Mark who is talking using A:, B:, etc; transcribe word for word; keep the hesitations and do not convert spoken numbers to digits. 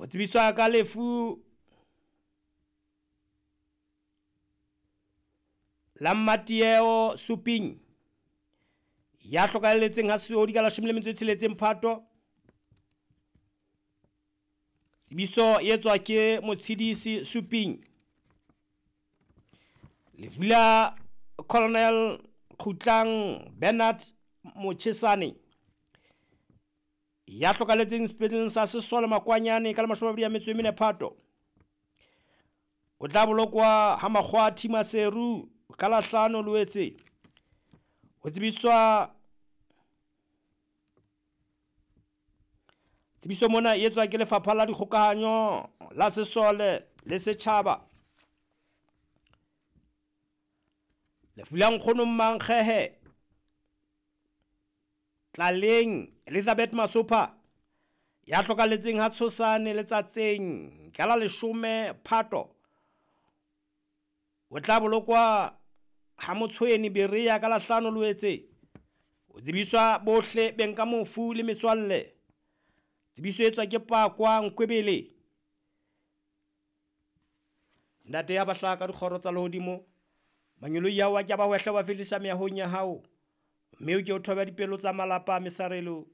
A: Ho tsebiswa ka lefu la Mmatieo Suping ya hlokahalletseng ha Seodi ka leshome le metso e tsheletseng Phato. Tsebiso e etswa ke Motshidisi Suping. Lefu la Colonel Khutlang Bernard Mochesane ya hlokahalletseng sepetleleng sa Sesole Makwanyane ka la mashome a mabedi a metso e mene Phato. O tla bolokwa ha Makgwathi Maseru ka la hlano Loetse. Ho tsebiswa tsebiso mona e etswa ke Lefapha la Dikgokahanyo la Sesole le Setjhaba. Lefu la nkgono Mmankgehe Tlaleng Elizabeth Masopha ya hlokahalletseng ha Tshosane Letsatseng ka la leshome Phato. O tla bolokwa ha Motshweni Berea ka la hlano Loetse. O tsebiswa bohle beng ka mofu le metswalle. Tsebiso e etswa ke Pakwa Nkwebele. Ntate ya bahlaka ka dikgoro tsa lehodimo, mangeloi a wa ke a ba hwehle wa fihlisa mehahong ya hao, mme o ke o thobe dipelo tsa malapa a mesarelo.